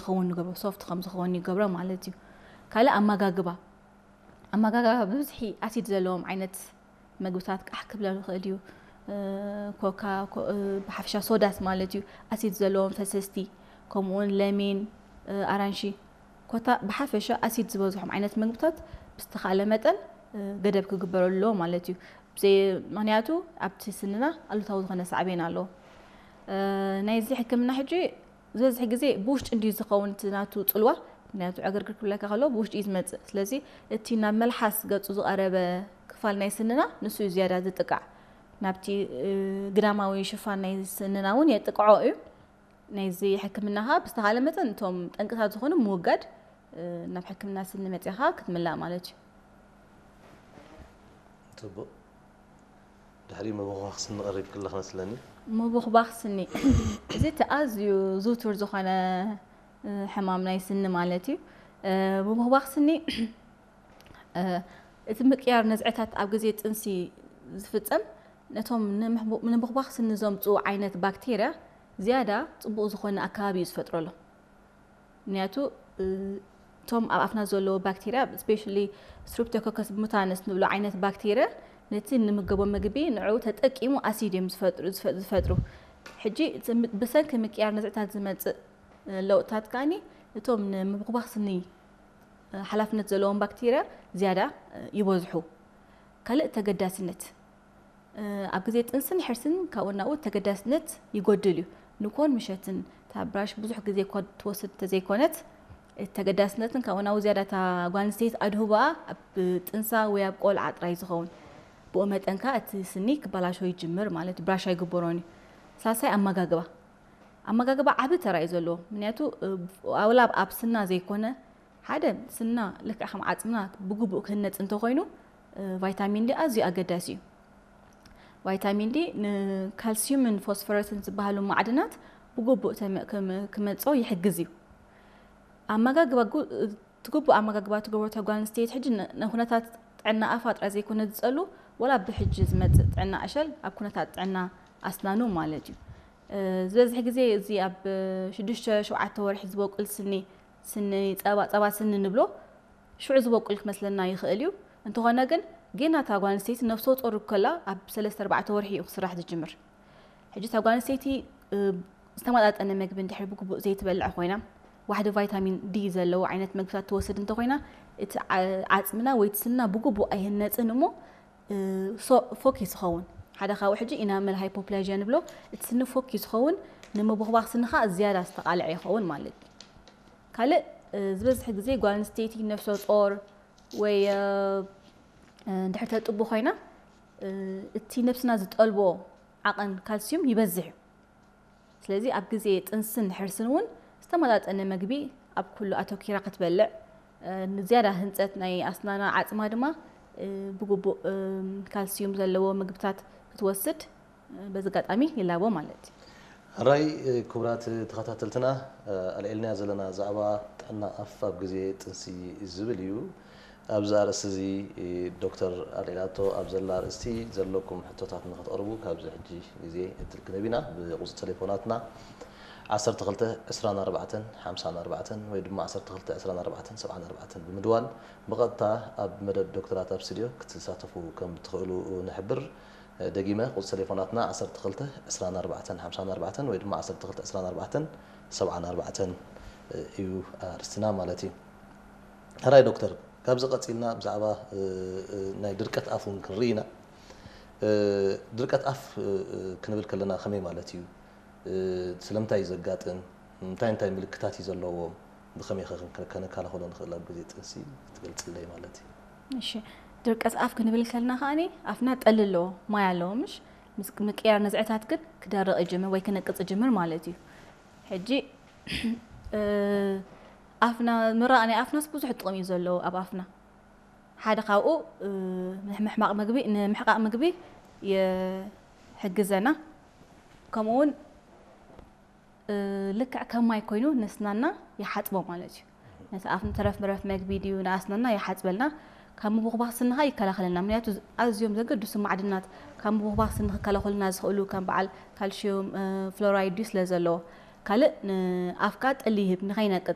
ክኸውን ንገብሮ፣ ሶፍት ከም ዝኸውን ይገብሮ ማለት እዩ። ካልእ ኣመጋግባ፣ ኣመጋግባ ብብዝሒ ኣሲድ ዘለዎም ዓይነት ምግብታት ቃሕ ክብለሉ ይኽእል እዩ። ኮካ፣ ብሓፈሻ ሶዳስ ማለት እዩ፣ ኣሲድ ዘለዎም ፈሰስቲ፣ ከምኡውን ለሚን፣ ኣራንሺ፣ ኮታ ብሓፈሻ ኣሲድ ዝበዝሖም ዓይነት ምግብታት ብዝተኻለ መጠን ገደብ ክግበረሉ ኣለዎ ማለት እዩ። ምክንያቱ ኣብቲ ስንና ኣሉታዊ ዝኾነ ሳዕቤን ኣለዎ። ናይዚ ሕክምና ሕጂ ዝበዝሕ ግዜ ብውሽጢ እንድዩ ዝኸውን እቲ ናቱ ጽልዋ፣ ምክንያቱ ዕግርግር ክብለካ ከሎ ብውሽጢ እዩ ዝመጽእ። ስለዚ እቲ ናብ መልሓስ ገጹ ዝቐረበ ክፋል ናይ ስንና ንሱ እዩ ዝያዳ ዝጥቃዕ። ናብቲ ግዳማዊ ሽፋን ናይ ስንና እውን የጥቅዖ እዩ። ናይዚ ሕክምና ኸዓ ብዝተኻለ መጠን እቶም ጠንቅታት ዝኾኑ ምውጋድ፣ ናብ ሕክምና ስኒ መጺኻ ክትምላእ ማለት እዩ። ጽቡቕ። ድሕሪ ምብኹባኽ ስኒ ቀሪብክላ ክመስለኒ። ምብኹባኽ ስኒ፣ እዚ እቲ ኣዝዩ ዝውቱር ዝኾነ ሕማም ናይ ስኒ ማለት እዩ። ምብኹባኽ ስኒ፣ እቲ ምቅያር ነዝዕታት ኣብ ግዜ ጥንሲ ዝፍጸም ነቶም ንምብኹባኽ ስኒ ዘምጽኡ ዓይነት ባክቴርያ ዝያዳ ጽቡቕ ዝኾነ ኣከባቢ እዩ ዝፈጥረሎም። ምክንያቱ እቶም ኣብ ኣፍና ዘለዉ ባክቴርያ፣ ስፔሻሊ ስትሪፕቶኮከስ ሙታንስ ንብሎ ዓይነት ባክቴርያ፣ ነቲ ንምገቦ ምግቢ ንዕኡ ተጠቂሙ ኣሲድ እዮም ዝፈጥሩ። ሕጂ ብሰንኪ ምቅያር ነዝዕታት ዝመጽእ ለውጥታት ከኣ እቶም ንምብኹባኽ ስኒ ሓላፍነት ዘለዎም ባክቴርያ ዝያዳ ይበዝሑ። ካልእ ተገዳስነት፣ ኣብ ግዜ ጥንስን ሕርስን ካብኡ ናብኡ ተገዳስነት ይጎድል እዩ። ንኮን ምሸትን እታ ብራሽ ብዙሕ ግዜ እኳ ትወስድ እንተዘይኮነት፣ እቲ ተገዳስነትን ካብኡ ናብኡ ዝያዳ እታ ጓል ኣንስተይቲ ኣድህቦኣ ኣብ ጥንሳ ወይ ኣብ ቆልዓ ጥራይ ዝኸውን። ብኡ መጠን ከኣ እቲ ስኒ ክበላሾ ይጅምር ማለት ብራሽ ኣይግበሮን እዩ። ሳልሳይ ኣመጋግባ። ኣመጋግባ ዓቢ ተራ እዩ ዘለዎ። ምክንያቱ ዋላ ኣብ ስና ዘይኮነ ሓደ ስና ልክዕ ከም ዓጽምና ብግቡእ ክህነጽ እንተኾይኑ ቫይታሚን ዲ ኣዝዩ ኣገዳሲ እዩ። ቫይታሚን ዲ ንካልሲዩምን ፎስፈረስን ዝበሃሉ ማዕድናት ብግቡእ ክመጾ ይሕግዝ እዩ። ኣመጋግባ ትግቡእ ኣመጋግባ ትገብሮ እታ ጓል ኣንስተይቲ ሕጂ ንኩነታት ጥዕና ኣፋ ጥራይ ዘይኮነ ዝጸሉ፣ ወላ ብሕጂ ዝመጽእ ጥዕና ዕሸል ኣብ ኩነታት ጥዕና ኣስናኑ ማለት እዩ። ዝበዝሕ ግዜ እዚ ኣብ ሽዱሽተ ሸውዓተ ወርሒ ዝበቁል ስኒ፣ ስኒ ጸባ፣ ጸባ ስኒ ንብሎ ሽዑ ዝበቁል ክመስለና ይኽእል እዩ። እንተኾነ ግን ጌና እታ ጓል ኣንስተይቲ ነፍሰ ጡር ከላ ኣብ ሰለስተ ኣርባዕተ ወርሒ እዩ ክስራሕ ዝጅምር። ሕጂ እታ ጓል ኣንስተይቲ ዝተመጣጠነ መግቢ እንድሕር ብግቡእ ዘይትበልዕ ኮይና፣ ዋሕዲ ቫይታሚን ዲ ዘለዎ ዓይነት መግብታት ትወስድ እንተኮይና፣ እቲ ዓጽምና ወይ እቲ ስንና ብግቡእ ኣይህነጽን እሞ ፎኪስ ይኸውን። ሓደ ካብኡ ሕጂ ኢናመል ሃይፖፕላዥያ ንብሎ፣ እቲ ስኒ ፎኪስ ይኸውን፣ ንምብኹባኽ ስኒ ከዓ ዝያዳ ዝተቃልዐ ይኸውን ማለት እዩ። ካልእ ዝበዝሕ ግዜ ጓል ኣንስተይቲ ነፍሰ ጾር ወይ እንድሕር ተጥቡ ኮይና፣ እቲ ነብስና ዝጠልቦ ዓቐን ካልሲዩም ይበዝሕ እዩ። ስለዚ ኣብ ግዜ ጥንስን ሕርስን እውን ዝተመጣጠነ መግቢ ኣብ ኩሉ ኣተኪራ ክትበልዕ፣ ንዝያዳ ህንፀት ናይ ኣስናና ዓፅማ ድማ ብግቡእ ካልሲዩም ዘለዎ ምግብታት ክትወስድ በዚ ኣጋጣሚ ይላቦ ማለት እዩ። ሕራይ ክቡራት ተኸታተልትና፣ ኣልዒልናዮ ዘለና ዛዕባ ጥዕና ኣፍ ኣብ ግዜ ጥንሲ ዝብል እዩ። ኣብዚ ኣርእስቲ እዚ ዶክተር ኣልዒላቶ ኣብ ዘላ ኣርእስቲ ዘለኩም ሕቶታት ንክትቕርቡ ካብዚ ሕጂ ግዜ ዕድል ክንህብ ኢና። ብቁፅሪ ቴሌፎናትና ዓሰርተ ክልተ ዕስራን ኣርባዕተን ሓምሳን ኣርባዕተን ወይ ድማ ዓሰርተ ክልተ ዕስራን ኣርባዕተን ሰብዓን ኣርባዕተን ብምድዋል ብቐጥታ ኣብ መደብ ዶክተራት ኣብ ስቱድዮ ክትሳተፉ ከም ትኽእሉ ንሕብር። ደጊመ ቁፅሪ ቴሌፎናትና ዓሰርተ ክልተ ዕስራን ኣርባዕተን ሓምሳን ኣርባዕተን ወይ ድማ ዓሰርተ ክልተ ዕስራን ኣርባዕተን ሰብዓን ኣርባዕተን እዩ ኣርእስትና ማለት እዩ። ሕራይ ዶክተር፣ ካብዚ ቀፂልና ብዛዕባ ናይ ድርቀት ኣፍ እውን ክንርኢ ኢና። ድርቀት ኣፍ ክንብል ከለና ከመይ ማለት እዩ? ስለምንታይ እዩ ዘጋጥም? እንታይ እንታይ ምልክታት እዩ ዘለዎም? ብኸመይ ከ ከነከላኸሎ ንኽእል ኣብ ግዜ ጥንሲ ክትገልፅለይ ማለት እዩ። እሺ፣ ድርቀት ኣፍ ክንብል ከለና ከኣኒ ኣፍና ጠሊ ኣለዎ፣ ማይ ኣለዎ፣ ምሽ ምስ ምቅያር ነዝዕታት ግን ክደርቕ ይጅምር ወይ ክነቅፅ ይጅምር ማለት እዩ። ሕጂ ኣፍና ምራቕ ናይ ኣፍናስ ብዙሕ ጥቕሚ እዩ ዘለዎ ኣብ ኣፍና። ሓደ ካብኡ ንምሕማቕ ምግቢ ንምሕቃቕ ምግቢ ይሕግዘና። ከምኡ እውን ልክዕ ከም ማይ ኮይኑ ነስናና ይሓፅቦ ማለት እዩ። ነቲ ኣፍ ንተረፍ መረፍ መግቢ ድዩ ንኣስናና ይሓፅበልና። ካብ ምብኹባኽ ስንኻ ይከላኸለልና። ምክንያቱ ኣዝዮም ዘገድሱ ማዕድናት ካብ ምብኹባኽ ስኒ ክከላኸሉና ዝኽእሉ ከም በዓል ካልሽዩም ፍሎራይድ ድዩ ስለ ዘለዎ። ካልእ ንኣፍካ ጠሊ ይህብ ንኸይነቅፅ።